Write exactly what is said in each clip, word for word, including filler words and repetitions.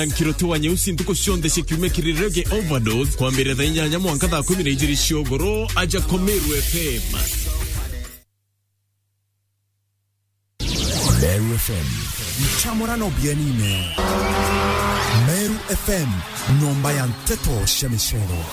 Nkiroti wa Nyeusi ntuku cionthe cia kiumia kiri Reggae Overdose, kwambirira thaa inyanya mwanka thaa kumi na ijiri cia ugoro, aja kwa Meru F M. Meru F M. Nchamurano bienine. Meru F M, nyomba ya nteto cia micero.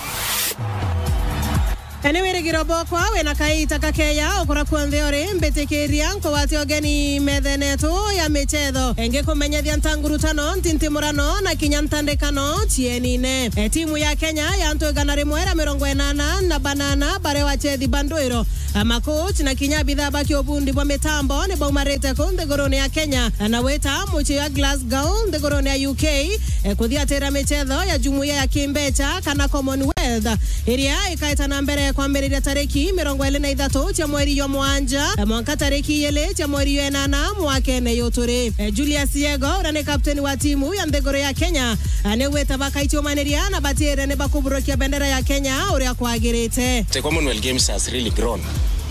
Ene wirigiro bokwa wina kaita kakeya ukura kuonthe uri, mbitikiria nkugwate ugeni methene yetu ya michetho. Ngikumenyethia ntangurutano, ntintimurano na kinya ntandikano cienine. E, timu ya Kenya ya antu igana rimwe ria mirongo inana na banana baria wachethi ba ndwiro, a, makochi na kinya abithaa ba kiubundi bwa mitambo ni baumarite kuu nthigurune ya Kenya na wita mucii ya Glasgow nthigurune ya U K, e, kuthiatira michetho ya jumuiya ya kimbecha kana Commonwealth, iria ikaeta na mbere kwambiriria tariki mirongo iri na ithatu cia mweri jwa mwanja, e, mwanka tariki ijiri cia mweri jwa inana mwakene uyu turi. E, Julius Yego, uria ni kapteni wa timu ya nthiguru ya Kenya, a, ni gwita bakaichumaniria na batiire ni bakuburukia bendera ya Kenya uria kwagirite. The Commonwealth Games has really grown,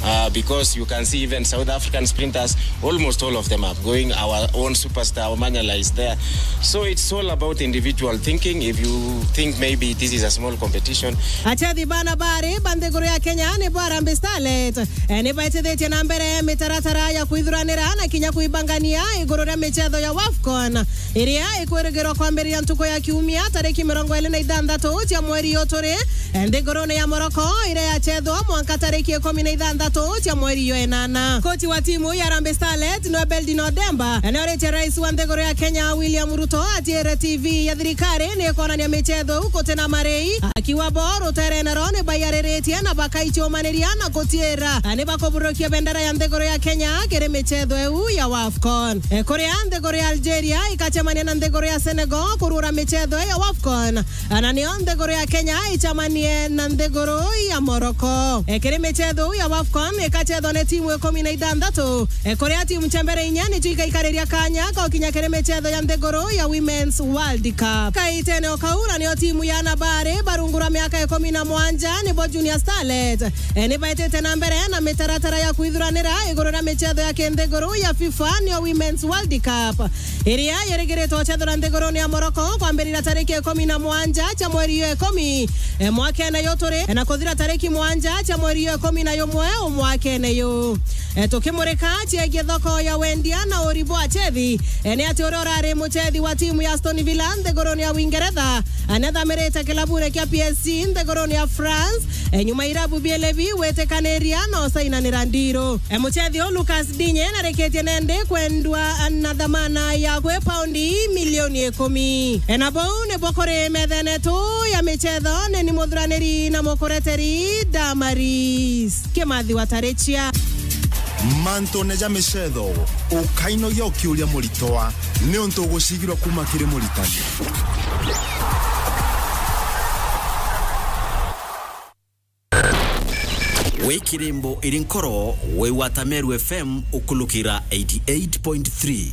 uh, because you can see even South African sprinters, almost all of them are going. Our own superstar Omanyala is there. So it's all about individual thinking. If you think maybe this is a small competition. Achethi bana bari ba nthiguru ya Kenya ni bo Harambee Starlet, e, ni baitithitie na mbere mitaratara ya kwithuranira na kinya kwibangania iguru ria michetho ya WAFCON, iria ikwirigirwa kwambiriria ntuku ya kiumia tariki mirongo iri na ithanthatu cia mweri uyu turi, e, nthigurune ya Morocco, iria yachethwa mwanka tariki ikumi na ithanthatu cia mweri jwa inana. Kochi wa timu ya Harambee Starlet niwe Beldin Odemba, e, ni oritie rais wa nthiguru ya Kenya William Ruto atiire T V ya thirikari ni ikonania michetho iu guti na marei, akiuga bo rutere naro ni baiyariritie na bakaichumaniria na gutiira, a, ni bakuburukia bendera ya nthiguru ya Kenya kiri michetho iu ya WAFCON. E, kuria nthiguru ya Algeria ikachemania na nthiguru ya Senegal kurura michetho ya WAFCON, a, na nio nthiguru ya Kenya ichamanie na nthiguru ya Morocco. E, kiri michetho iu ya WAFCON ikachethwa ni timu ikumi na ithanthatu, e, kuria timu cia mbere inya nicio ikaikariria kanya ka gukinya kiri michetho ya nthiguru ya Women's World Cup. Kaitene o kau, na nio timu ya ana bari barungura miaka ikumi na mwanja, nibo Junior Starlet, e, ni baitite na mbere na mitaratara ya kwithuranira iguru ria michetho ya kinthiguru ya FIFA, nio Women's World Cup, iria yirigiritwe guchethwa nthigurune ya Morocco kwambiriria tariki ikumi na mwanja cia mweri jwa ikumi, e, mwakene uyu turi, e, na kuthira tariki mwanja cia mweri jwa ikumi na jumwe mwakene uyu. E, tukimurika ciegie thoko ya wendia na uri bwa achethi, e, ni ati uria urari muchethi wa timu ya Aston Villa nthigurune ya Uingeretha, e, ni athamirite kilabune kia P S G nthigurune ya France, e, nyuma irabu biele bi gwitikaniria na usainanira ndiru. E, muchethi uyu Lucas Digne narikitie nandi kwendwa na thamana ya kwi paundi milioni ikumi. E, na bau nibo kuri methene tu ya michetho, ni ni muthuraniri na mukureteri Damaris Kimathi wa Tarichia. Mantune ja michetho, ukainogia ukiuria muritwa, niuntu ugucigirwa kuma kiri muritani. Wi kirimbo iri nkoro, wi gwata Meru F M ukulukira eighty eight point three.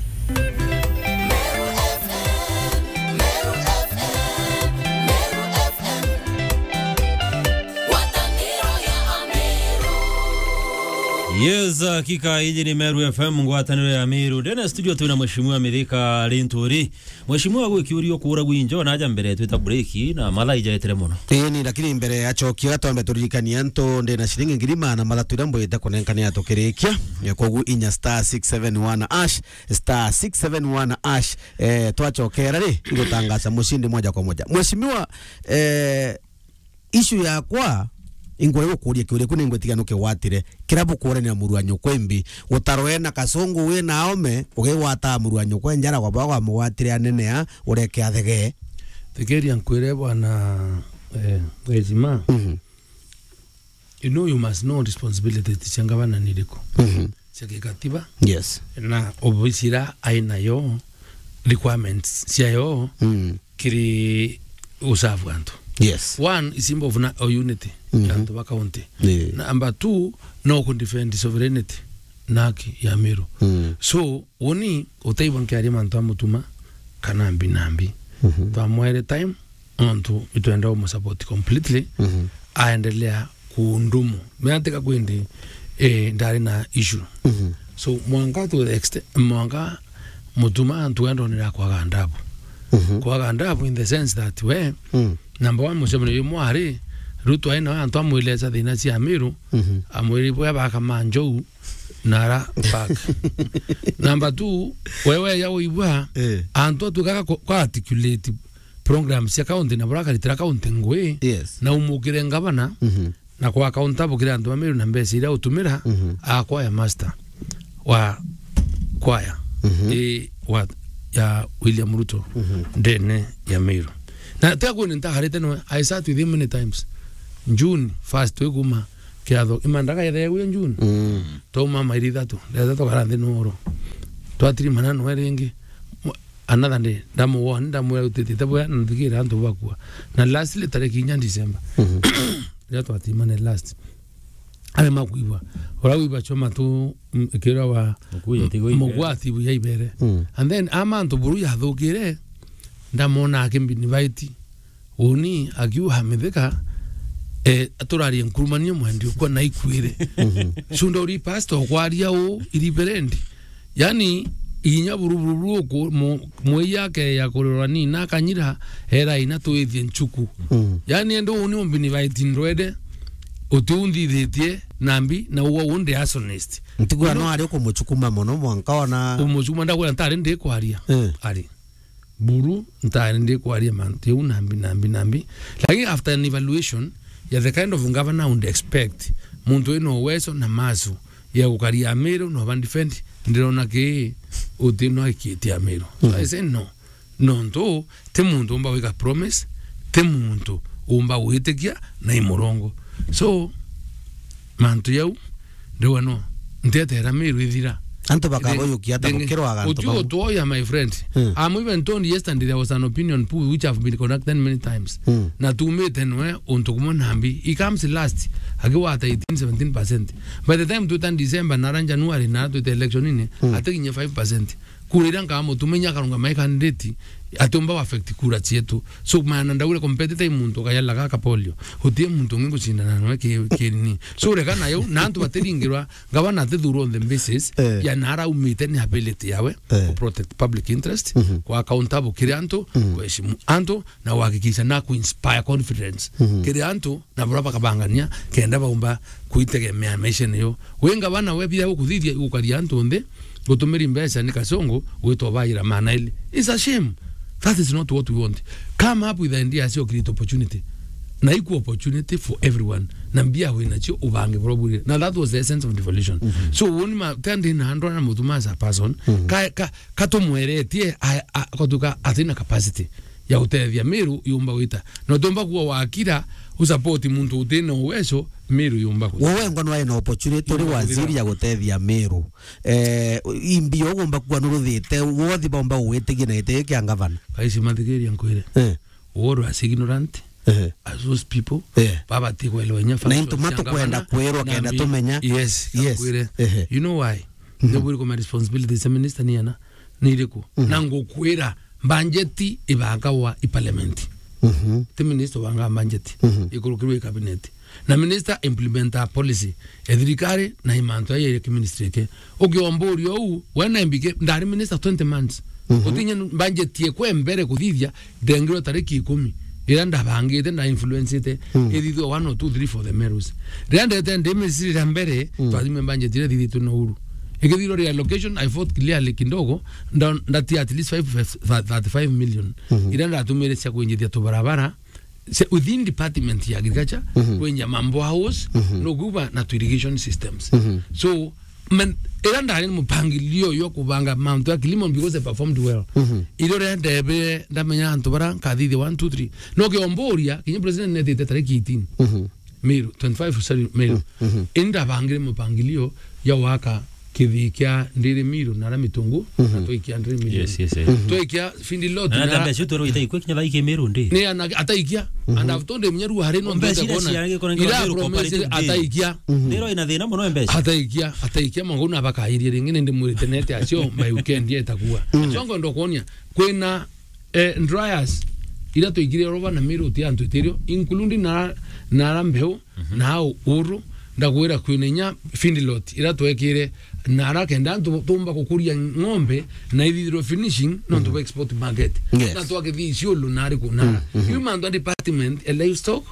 Yes, hakika, iji ni Meru F M, ngwataniro ya Meru. Ndene studio twina Mheshimiwa Mithika Linturi. Mheshimiwa, gwi kiuria ukuura gwinjo na aja mbere twita break na mathaa ijaetire mono. Ii ni, lakini mbere ya chokia, twambe turirikanie antu, ndina ciringi ngiri magana mathatu iria mbwite kunenkania tukirikia. Eh, koguo inya star six seven one hash, star six seven one hash, eh, twachokera ri, igutangaza mushindi moja kwa moja. Mheshimiwa, eh, issue yakwa, ingwenda gukuria kiuria, ku ningwitikia nukigwatire. Kirabu kuuranira muru wa nyukwa imbi, gutarwe na kasungu wi na aome, ugigwata muru wa nyukwa njara kwa bwa mugwatire anene a, ureke athegee. Thikiria nkwire bwana, eh, Mheshimiwa. Mhm. You know, you must know responsibility cia ngavana ni iriku. Mhm. Cia gikatiba. Yes. Na obisi ira ainayo, requirements ciayo, mm, kiri usavu antu. Yes. One is symbol of na-, of unity, mhm, ya antu ba county. Yeah. Number two, no ku defend sovereignty na haki ya Meru. Mm. So, uni utaigua nkiaria mantu a Mutuma kana mbi na mbi. Mhm. Twamwere time, nontu itwenda umusupport completely, mhm, aendelea kuundumu. Meantika kwindi, eh, ndari na issue. Mhm. So, mwanka to the extent, mwanka Mutuma antu endonera kwaga ndabu. Mhm. Kwaga ndabu in the sense that we, Mm. number one, mucemanio jumwe ari, Ruto aina antu amweleza thina cia Meru, Mhm. amwiri bwa baka manjou na ara park. Number two, wewe ya uigua, Eh. antu atukaga ku-, kwa articulate program cia county na bura akaritira county ngui, Yes. na umukire ngavana, Mhm. na kwa accountable kiri antu ba Meru na mbeca iria utumira, Mhm. a kwaya master wa kwaya, Mhm. i wa, ya William Ruto, Mhm. ndene ya Meru. Na tia kwini ntagarite nwe, I sat with him many times. June first, twi kuma kiatho, imandaga yethe ya June. Mm. Twauma mairi ithatu, ithatu tukara nthi noro. Twatirimana nwe ringi. Mwa-, another day, ndamuona, ndamwira utitite bwega, na nthikira antu bakua. Na lastly, tariki inya December. Mhm. Riria twatimane last. Arema kwigua. Ura wigua choma tu, mm, kira wa Mukuya tigo ibere. Mugwati buya ibere. Mm. And then, ama antu buru yathukire, ndamwona akimbinivite. Uni akiuga mithika, eh, aturarie nkurumanio mwendi ukwa na ikwire. Mhm. Cunda uri pastor kwaria u, iri berendi. Yani, inya buru, buru, buru, ku-, mu-, mwei yake ya kurerwa ni na akanyira, era ina twithie nchuku. Mm. Yani, ende uni umbinivite ndwende, uti undithitie nambi, na uwa undi arsonist. Ntigwa no ari ukumuchukuma mono mwanka ona umuchukuma ndagwira ntari ndi kwaria. Eh. Ari. Buru, ntari ndi kwaria mantu jau nambi, nambi, nambi. Lakini after an evaluation ya the kind of governor I would expect, muntu wina uwezo na masu ya gukaria Amiru na uba defend, ndirona ki uti no ikitie Amiru. So Mhm. I say no. Nontu ti muntu umba gwika promise, ti muntu umba gwitikia na i murongo. So, mantu jau, ndiwa no, ntietera Miru ithira. Antu bakaguyukia ata bukirwa antu utiu bau? Utuoya, my friend. Hmm. I'm even told yesterday there was an opinion poll which have been conducted many times. Hmm. Na tumite nwe untu kumwe nambi. He comes last, akiwata eighteen, seventeen percent. By the time twita December, nara January, na twita election-ini, hmm, atikinye five percent. Kura iria nkamutuma inya akarungama i candidate, atiumba affect kura cietu. So, maana ndaure competitor i muntu ukayalaga akapolio. Utie muntu ungi gucindana nawe ki, ki nini. So, reka nayo, na antu batiringirwa, gavana atithurwa on the basis, eh, ya nara aumite ni ability yawe, eh, ku protect public interest, mhm, kwa accountable kiri antu, mhm, kuheshimu antu, na kuhakikisha na ku inspire confidence, mhm, kiri antu, na bura bakabangania kenda baumba kuitegemea maishene yo. We ngavana we bia gukuthithia igukaria antu nthi, gutumiri mbeca ni kasongo, gwitwa baira maana ili. It's a shame. That is not what we want. Come up with ideas cia create opportunity. Na equal opportunity for everyone. Na mbia wina cio ubange bura bwire. Na that was the essence of devolution. Mhm. So, woni ma, tendi na andra na mutuma as a person, mhm, ka, ka, katumweretie, a, a, kotuka atina capacity ya gutethia Miru yumba gwita. No tumba kuwa wakira, usupport muntu utina uwezo, Miru yumba gwita. Wewe ngwa nwae na opportunity uri waziri ya gutethia Miru. Eh, imbi ugumba kuwa nuruthite, wothi baumba gwitigia na giti kia ngavana. Kaisi mathikiria nkwire. Eh. Oro as ignorant, eh, as those people, eh, baba ti kwelewa inya na into function cia matukwenda ngavana, kwirwa na kenda mi-, tumenya. Yes, yes. Nkwire. Eh. You know why? Mhm. Nibwiri kuma responsibilities cia minister ni ana. Ni iriku? Mhm. Na ngukwira, budget ibangagwa i parliament. Mhm. Ti minister ubanga budget. Mhm. Ikurukirwe i cabinet. Na minister implementa policy ya thirikari na i mantu ya, ya ministry ke. Ukiomburia uu, we na M B K, ndari minister twenty months. Mhm. Utinya budget yekwe mbere kuthithia, ndengirwe tariki ikumi. Iria ndabangite, nda influencete, mm, ithithwe one or two, three for the Merus. Riria ndete ndi ministry ria mbere, mm, twathime budget iria ithithitwe na Uhuru. Ikithirwa reallocation, I fought clearly kidogo, nda-, ndatia at least five, thirty-five million. Mhm. Iria ndatumire cia kwinjithia tubarabara, se-, within department ya agriculture, mhm, kwenja mambo house, mhm, no kuba na tu irrigation systems. Mhm. So, men, ira ndari na mupangilio yo kubanga mantu ya kilimo because they performed well. Mhm. Iro ria ndebe ndamenya antu bara nkathithia one, two, three. No kiomburia, kinya president netite tariki eighteen. Mhm. Miru, twenty-five, sorry, Miru. Mhm. Indi ndabangire mupangilio ya waka kithii kia Ndiri Miru na ara Mitungu, mhm, na twaikia Ndiri Miru. Yes, yes, yes. Mhm. Twaikia Findi Lot na na ara mbeca tu rwita ikwe kinya thaiki Miru ndi. Ni ana-, ataikia. Mhm. And I've told him, nyeru hari no mbeca ndete ira kuona. Ira promise ataikia. Mhm. Ndiro ina thina muno mbeca. Ataikia, ataikia, mwangu na bakairie ringi, nindi mwirite nete acio, by weekend yetakuwa. Mhm. Acio ngondo kuonia, kwina, eh, dryers, ira tuikire roba na Miru ti antu itirio, including na, na ara mbeu, mhm, na au uru, ndagwira kwina inya Findi Lot, ira twekire Nara kenda antu tumba kukuria ng'ombe na ithithirwe finishing, nontu bwa export market. Yes. Na twakithii Isiolo nari ku nara. Iu mantu a department ya livestock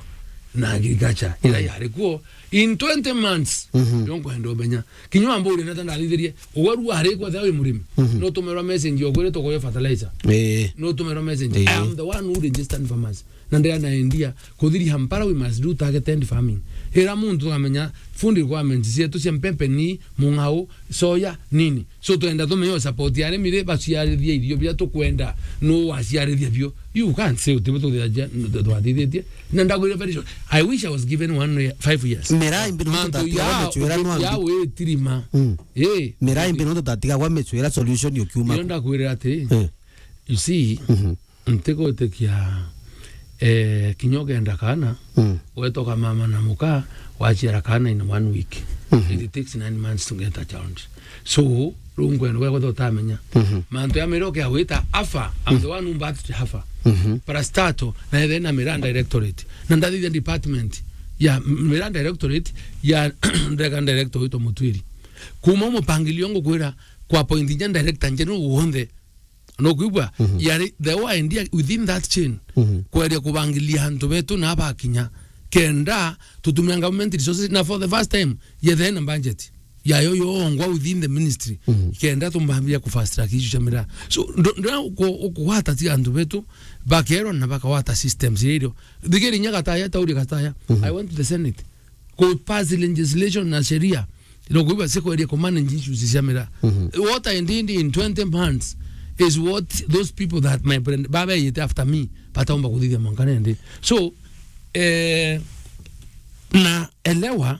na agriculture, ira yari kuo in twenty months, yo nkwenda umenya. Kinya wamburia nata ndathithirie, uwe ru ari kwa thawi murimi. No tumerwa message yo kwire tukoya fertilizer. Eh. No tumerwa message. Eh. I am the one who registered farmers. Na ndira na idea, kuthiria mpara we must do targeted farming. Ira muntu tukamenya food requirements cietu cia mpempe ni mung'ao, soya, nini. So twenda tumenye support ya arimi ri baciarithia irio bia tukwenda, no waciarithia bio. You can't say utibu tuthithia, twathithitie. Na ndagwire very short. I wish I was given one year, five years. Miraa imbi no mantu tutatiga ya, gwa micwira no ya ambi. Witirima. Mm. Eh. Miraa imbi no tutatiga gwa micwira solution ukiuma. Iyo ndakwirira ati, eh, you see, ntigwitikia, eh, kinya ugenda kana, mm, wetoka mama na muka, waciara kana in one week. It takes nine months to get a child. So, riu ngwenda gwe kwetha utamenya. Mantu ya miraa ukia wita afa, I'm the one who birthed afa. Parastato, na ethe na miraa directorate. Na ndathithia department ya miraa directorate ya ndeka director witwa Mutwiri. Kuma mupangilio ngukwira kwa point inya director njeru wonthe. No kwigua, yari the whole idea within that chain. Kweria kubangilia antu betu na bakinya. Kenda tutumia government resources na for the first time, yethe na budget yayo yongwa within the ministry. Kenda tumbambia ku fast track issue cia miraa. So, ndo, ndo ku-, ukugwata ti antu betu, bakerwa na bakawata systems irio. Thigiri nya Gataya, tauri Gataya. I went to the Senate. Ku pass legislation na sheria. Ino kuiba sikweria ku manage issues cia miraa. What I did in twenty months is what those people that my friend, baba yete after me, bataumba kuthithia mwanka nende. So, eh, na elewa,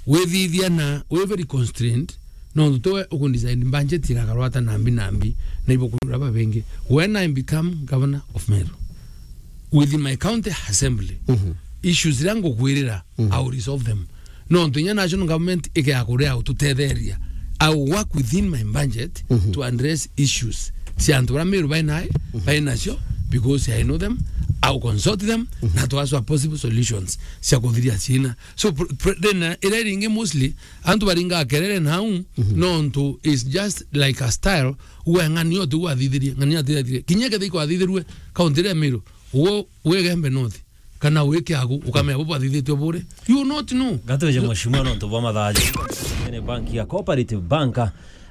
withithia na, we very constrained, no ntu we uku design budget igakarwata nambi nambi, na ibo kurura babengi. When I become governor of Meru, within my county assembly, issues iria ngukwirira, I will resolve them. No ntu inya national government ikea kuria ututetheria. I will work within my budget to address issues cia antu bara Meru bainae, bainacio, because I know them, I will consult them, na to ask for possible solutions cia kuthiria ciina. So, pr-, pr-, then, uh, ira iringi mostly, antu baringa kerere nau, no ntu is just like a style, uwe ng'ani otu wathithirie, ng'ani atithirie. Kinya kethe ikwathithirue, kaunti iria Meru, uwe, uwe Gembe North, kana wi Kiagu, ukamenya bo bwathithitue bure. You will not know. Gatwije mheshimiwa nontu bwa mathaji. Ni bank ya Cooperative Bank.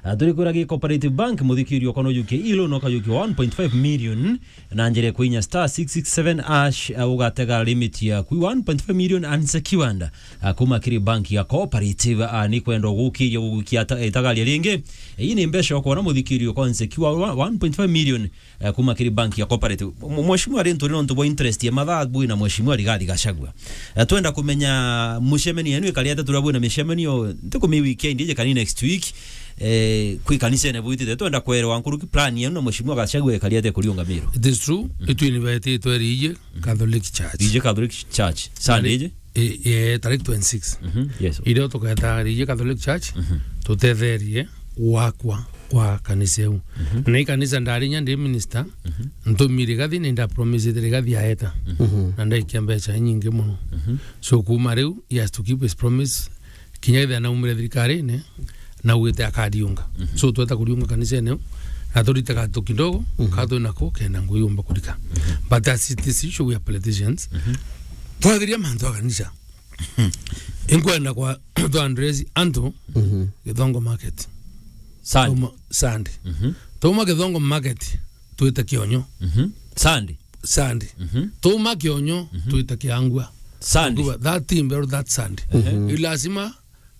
Ah, turi kwira gi Cooperative Bank, muthikirio kono yuke ilo no kayuki one point five million. Na njira kwinya star six six seven hash, ah, ugatega limit ya kwi one point five million unsecured. Ah, kuma kiri bank ya Cooperative, ah, ni kwenda gukiria gugukia ta-, itagaria ringi. Ii ni mbeca ukwona muthikirio kwa unsecured wa one point five million. Eh, kuma kiri bank ya Cooperative. M-, mheshimiwa, ri nturi nontu bwa interest ya mathaa bwi na mheshimiwa Rigathi Gachagua. Eh, twenda kumenya mucemenio yenu ikari atia, turabwina micemenio, ntiku mi weekend ije kani next week, eh, kwi kanisene bwitite. Twenda kwerewa nkuruki plan yenu na mheshimiwa Gachagua ikari atia kuriunga Meru. It is true. Itwi ni betitwe Riiji Catholic Church. Riiji Catholic Church. Sunday ije? Eh, eh, tarik twenty-six. Mhm, yes. Irio tuketa Riiji Catholic Church, tutetherie wakwa kwa kanisa iu. Na i kanisa ndari inya ndi minister, ntumire Rigathi, ni nda promise Rigathi aeta. Na ndaikia mbeca inyingi muno. So kuma riu, he has to keep his promise. Kinya ethira naumire thirikarine, naugite akariunga. So tweta kuriunga kanisene iu, na turite gatu kidogo, ka twi nako, kenda ngui yumba kurika. But as it is usual, we are politicians. Twathiria mantu a kanisa. Inkwenda kwa twa address antu Githongo Market. Sunday. Tuma, Sunday. Tuma Githongo Market, twite Kionyo. Sunday. Sunday. Tuma Kionyo, twite Kiangua. Sunday. Kuba that team, that Sunday. Ni lazima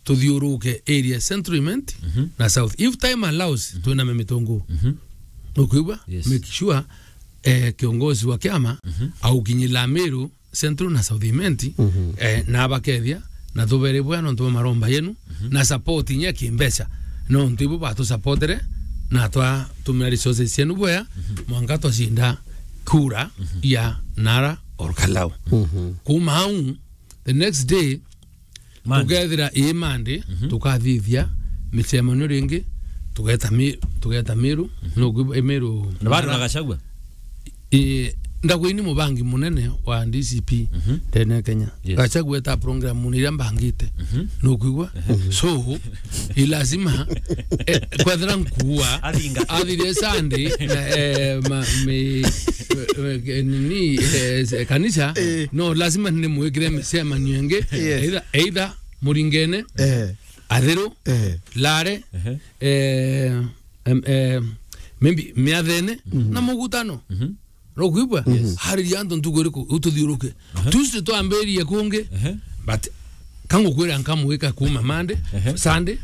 tuthiuruke area Central Imenti na South. If time allows, twina memitungu. Ukwigua? Yes. Make sure, eh, kiongozi wa kiama aukinyila Meru Central na South Imenti, eh, na abakethia, na tubere bwea nontu bwa maromba yenu, na support inya kimbeca, nontu ibo batusupportere, na twatumira resources cienu bwea, mwanka twacinda kura ya Nara or Kalau. Kuma au, the next day, Monday. Tukethira ii Monday, tukathithia micemanio ringi, tugeta Mi-, tugeta Meru, no, i Meru. Na bado na Gachagua? Ii, Ndagwa ini mubangi munene wa D C P Mhm. ndene Kenya. Yes. Gachagua eta program ni iria mbangite. Mhm. Nukwigua? Mhm. So, i lazima, eh, kwethira nkuua, Athinga. athire Sunday, na, eh, ma-, mi-, eh, nini, eh, kanisa, Eh. no, lazima ni mwikire micemanio ingi. Yes. Either, either muringene, Eh. athiru, Eh. lare, Ehe. eh, em, eh, maybe miathene, Mhm. na mugutano. Mhm. Nukwigua? Yes. Hariria antu ntuku iriku, ututhiuruke. Aha. Tuesday twambiririe kungi, Ehe. but kangukwira nkamwika kuma Monday, Ehe. Sunday,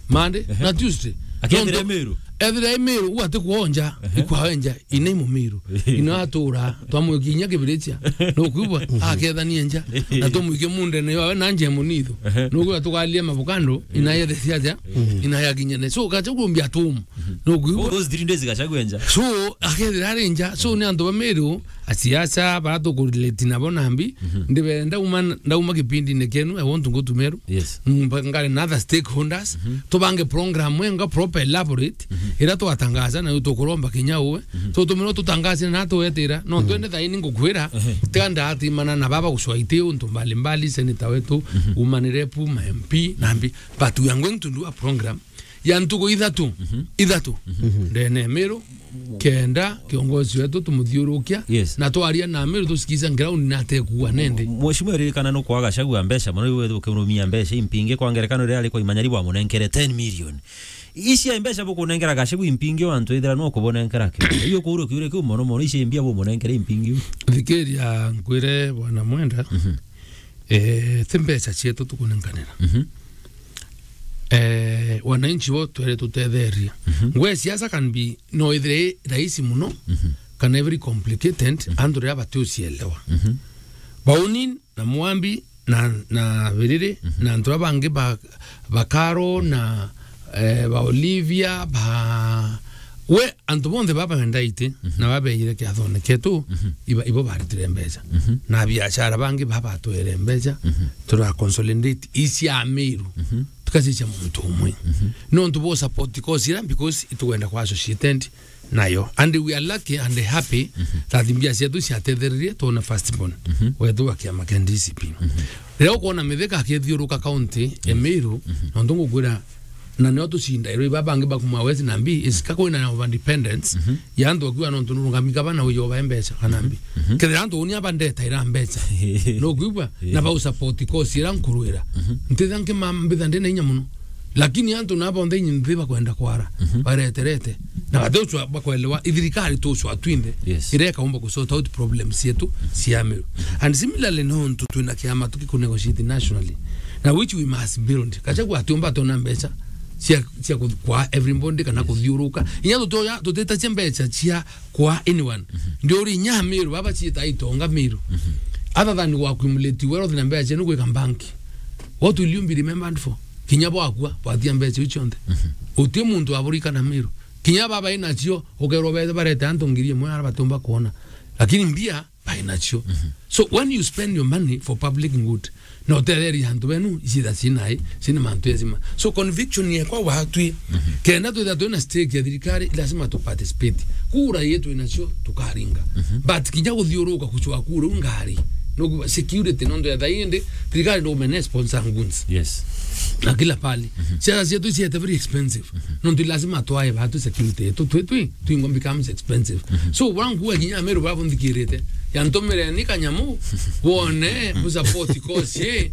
Monday, Ehe. na Tuesday. Akethira Nontu Miru. Ethira i Miru, u ati kwonja, Ehe. ikwaenja, ina i Mumiru. Ina atura, twamwikia inya kibirichia. Nukwigua? Akethania nja. Na tumwike mundene yawe na nje munitho. Ehe. Nukwigua tukalia mavukando, ina yethe ciaja, Mhm. ina yakinyene. So, kacha kumbia tum. Nukwigua? Those three days Gachagua nja. So, akethira ari nja. So, ni antu ba Miru, asiasa, bara tukurelate nabo nambi. Mhm. Ndibere ndauma, ndauma kipindine kienu, I want to go to Meru. Yes. Mba-, ngari na other stakeholders. Mhm. Tubange program enga proper elaborate. Mhm. Ira twatangaza na tukuromba kinya uwe. Mhm. So, tumiro tutangaze na tuwetira. No, Mhm. twende thaini ngukwira. Ehe. Tiga ndatimana na baba gucwa iti untu mbalimbali, senator wetu, Mhm. umanire pu, ma M P, nambi. But we are going to do a program ya ntuku ithatu, Mhm. ithatu, Mhm. ndene Miru, kenda kiongozi wetu tumuthiurukia, Yes. na twaria na Miru tusikiza ground na atekua nende. Mheshimiwa, ririkana no kwaga Gachagua mbeca, mono iwe ukirumia mbeca impingi, kwa ngerekano, riria ari kwa Imanyari bwamunenkere ten million. Ici mbeca bukunenkera Gachagua impingi, antu ithira no kubonenkera ki? Iyo kuuru kiure kiu mono mono, ici mbia bumunenkere impingi. Thikiria nkwire, bwana Mwenda, Mhm. eh, ti mbeca cietu tukunenkanira. Mhm. Eh, wananchi bo twere tutetheria. Mhm. Ngwe siasa can be, no ithire i rahisi muno, Mhm. kana very complicated, Mhm. antu riria batiucielewa. Mhm. Bauni na Mwambi na, na Biriri, Mhm. na antu aba bangi ba, ba Karo na, eh, ba Olivia, ba, we, antu bonthe baba bendaite, Mhm. na babeire kiathone kietu, Mhm. iba, ibo baritire mbeca. Mhm. Na biashara bangi babatwere mbeca, Mhm. tura consolidate isi ya Miru. Mhm. Tukacicia muntu umwe. Mhm. Nontu bo support cause ira, because itugwenda kwa associated nayo. And we are lucky and happy Mhm. that mbia cietu ciatethererie twona first born. Mhm. Wetu wa kiama kia D C P. Mhm. Riria ukwona Mithika akithiuruka county ya Yes. Miru, Mhm. nontu ngukwira, na nio tucinda, iro iba bangi bakuma West na mbi, isika kwina na overdependence, Mhm. ya antu akiwa nontu nurungami gavana uyo ba mbeca, kana mbi. Mhm. Kethira antu unia bandeta ira mbeca. Nukwigua? Yeah. Na bau support cause ira nkurwira. Mhm. Ntitha nkima mbitha ndina inya muno. Lakini antu na bonthe inyi nthi bakwenda kwara, Mhm. bareterete. Na bate ucwa bakwelewa, ithirikari tucwa twinthe, Yes. ireka umba ku sort out problems cietu cia Miru. And similarly, nontu twina kiama tukikunegotiate nationally, na which we must build. Gachagua atiumba tona mbeca cia, cia ku-, kwa everybody kana Yes. kuthiuruka. Inya tutoya, tutitacia mbeca cia kwa anyone. Mhm. Ndio uri inya Miru, baba ciita itonga Miru. Mhm. Other than ku accumulate wealth na mbeca cienu gwika bank. What will you be remembered for? Kinya bwakua, bwatia mbeca iu cionthe. Mhm. Uti muntu aburikana Miru. Kinya baba inacio, ukerwo bete barete antu ngiri imwe ara batumba kuona. Lakini mbia, bainacio. Mhm. So when you spend your money for public good, na utetheria antu benu, icitha cinai, cina mantu ezima. So conviction yekwa watwi, Mhm. kenda twitha twina stake ya thirikari, lazima tu participate. Kura yetu inacio, tukaringa. Mhm. But kinya guthiuruka kucwa kura u ngari. No security, nontu ya thaindi, thirikari no mene sponsor goons. Yes. Na kila pali. Mhm. Siasa cietu ciete very expensive. Mhm. Nontu lazima twae batu security yetu, twi, twi, twingo becomes expensive. Mhm. So, wangu wa kinya Meru babo nthikirite. Yantomere ni kanyamu, wone, mu support cause, eh.